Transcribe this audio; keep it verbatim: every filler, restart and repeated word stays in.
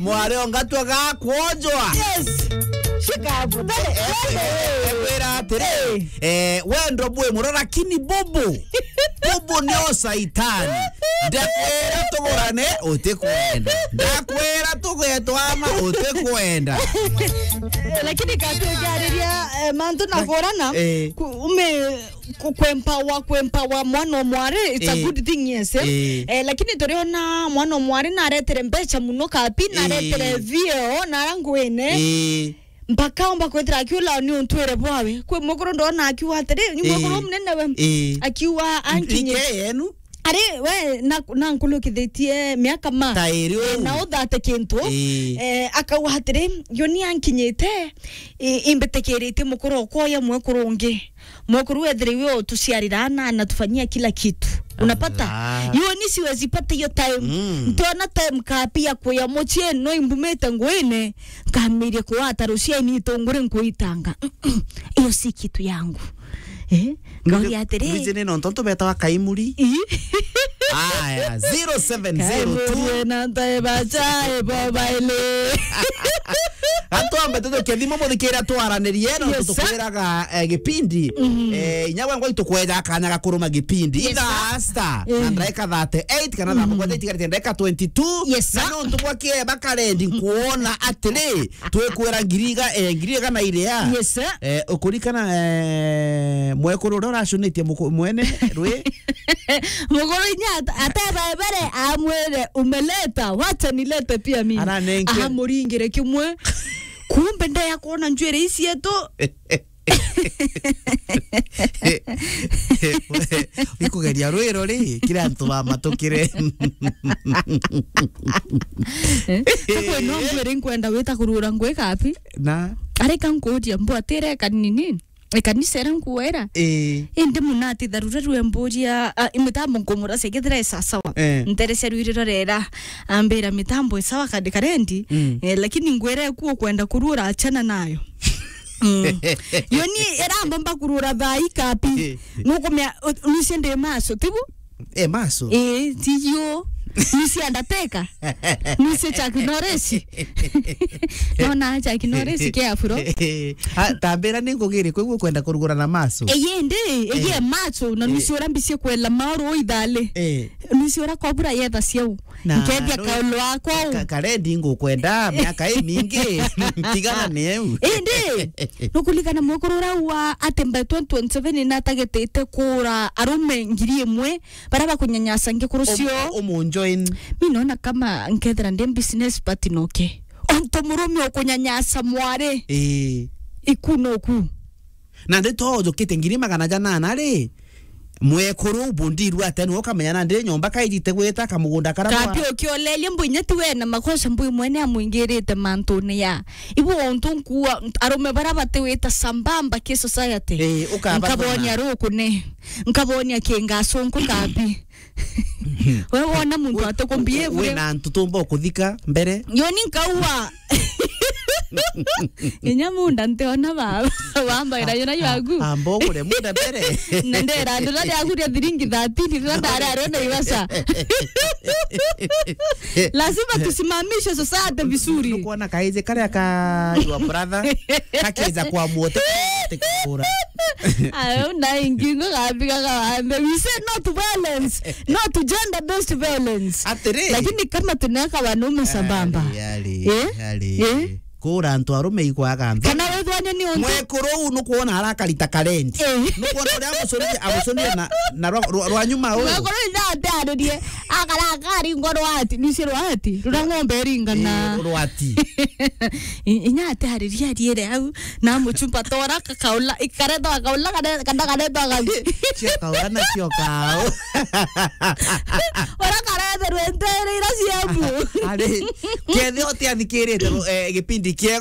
Mwari ongatwe gakwonjwa. Yes. Shikabu. Ekwira atiri, eh, wendo bwi muro, lakini bubu, bubu ni o saitani. Ndakwira tugurane, utikwenda. Ndakwira tugetwama, utikwenda. Lakini katukiariria, eh, mantu na kurana, eh, ku-, ume ku-, kwempower, kwempower mwana o mwari, it's a, eh, good thing, yes, eh? Eh. Eh, lakini turiona mwana o mwari naretere mbeca muno kapi, naretere, eh, vio na ara ngwine. Eh. Mpaka omba kwithira akiula ni untwire bwawe. Kwi mwekuru ndona akiuga atiri, ni, eh, mwekuru munene we. Eh. Akiuga ankinyi. Ike yenu? Ari, we, na, na nkulukithitie miaka ma. Ta iri, eh, uu. Na uthate kintu. Eh. Eh, akauga atiri, yo ni ankinyite, i-, imbitikiritie mukuru okwa uya mwekuru ungi. Mwekuru wethire iwe utuciarira ana, anatufanyia kila kitu. Unapata? Allah. Yo ni siwezi pata hiyo time. Mm. Ntiona time kapi ya kuya mucii, no imbumite nguine, nkamiria kuwata ruciaini itunguri nkuitanga. Hiyo si kitu yangu. Eh? Ngauria atiri. Mbici ni nontu tubetawa kaimuri. Ii. Aya, zero seven zero two. Kaimuri na ntae bacha, ebo baile. Atwambe tutuke thimu muthikira twaranirie, no, yes, sir, tutukwiraga, eh, gipindi. Mhm. Eh, inya we ngwa itukweja kanya ga kuruma gipindi. Yes, sir. Ithaa star, eh, na ndagika thirty-eight kana thaa, mhm, mugwanja itigarite ndagika twenty-two. Yes, sir. Na nontu bwa kieba karendi nkuona atiri, twikwira ngiri iga-, eh, ngiri igana iria. Yes, sir. Eh, ukurikana, eh, mwekuru uria uracunitie muku-, mwene rwi? Mukuru inya at-, ateba ebere, amwire, "Umeleta, wacha nilete pia mimi." Aranenge. Amuringire kimwe. Kumbe ndeya kuona njwiri icietu. Ikugeria rwiro ri, kira antu bamatukire. Eh, takwe no ngwire nkwenda wita kurura ngwi kapi? Na? Areka nkuria mbwatire kanini. Ekanisa iria nkuwera. Ii. Indi munati tharura rwe mburia, ah, imitambo nkumuracia kethira i sasawa. Eh. Nterecia rwiriro rera, ambira mitambo i sawa kandi karendi. Mm. Eh, lakini ngwira eku ukwenda kurura achana nayo. Mm. Yo ni irambomba kurura thaa ikapi. Eh. Nukumia, u-, nucie ndi maso, tibu? Eh, maso. Eh, tiyo. Nucie Undertaker. Nucie Chuck Norris. Nona Chuck Norris ke afuro. Ah, tambira ni ngugiri, kwigua kwenda kurugura na maso. Eye ndi, eye, eh, maso, na, eh, nucie ura mbicie kwela maoro ithale. Eh. Nucie ura kwabura yetha ciau. Na nkethia no kaulu akwa u. Ka-, karendi ngukwenda miaka imingi. Tigana ni eu. Indi, nukulikana mwekuru ura wa ati by twenty twenty-seven natagitite kura arume ngiri imwe, baria bakunyanyasa ngikuru cio. Um-, umunjoin. Mi naona kama nkethira ndi business partner noke. Onto murume ukunyanyasa mwari. Ii. Iku noku. Na ndi to ujukite ngiri magana janana ri, mwekuru bundirua ati ni ukamenya na ndi nyomba kaijite gwita kamugunda kara. Kapi ukiolelia mbu inya ti we na makosa mbu mwene amwingirite mantune ya. Ibu onto nkuwa arume bara batiwita sambamba ki society. Ii, ukabathona. Nkabonia rukune. Nkabonia kingasunku kapi. We wona muntu we, atukumbie we, bure. Wina antu tumba ukuthika mbere? Yo ni nkaua. Inya munda ntiona baba. Wambaira yona yaku. Amba ugure munda mbere. Na ndera ndura yaku ria thiringi thirteen, ndura ndara rio na ibasa. Lazima tusimamishe society vizuri. Nukwona kaije karia ka your brother, kakija kwa muote, kura. Ayo, na ingi ngo gabiga gawambe. We say no to violence, no to gender-based violence. Atiri. Lakini kama tunaweka wanaume sambamba. Ari, ari, eh? Ari. Eh? Kura antu arume ikwaga antu. Kana wethwania ni untu. Mwekuru uu nukwona arakarita karendi. Eh. Nukwona uria amucurire, amucurire na, na rwa, rwa, rwa nyuma uu. Mwekuru ina ate aririe. Akara akari ngo rwati. Nisi rwati. Rura ng'ombe iringana. Eh, rwati. I-, inya ate aririe ariere au. Na muchumba tora kakaula, ikaretwa akaula, kare-, kana karetwa akathi. Cio kaula na cio kao. Ora karetherwe ntere ira ciabu. Ari, kethe ote athikirite, eh, gipindi kia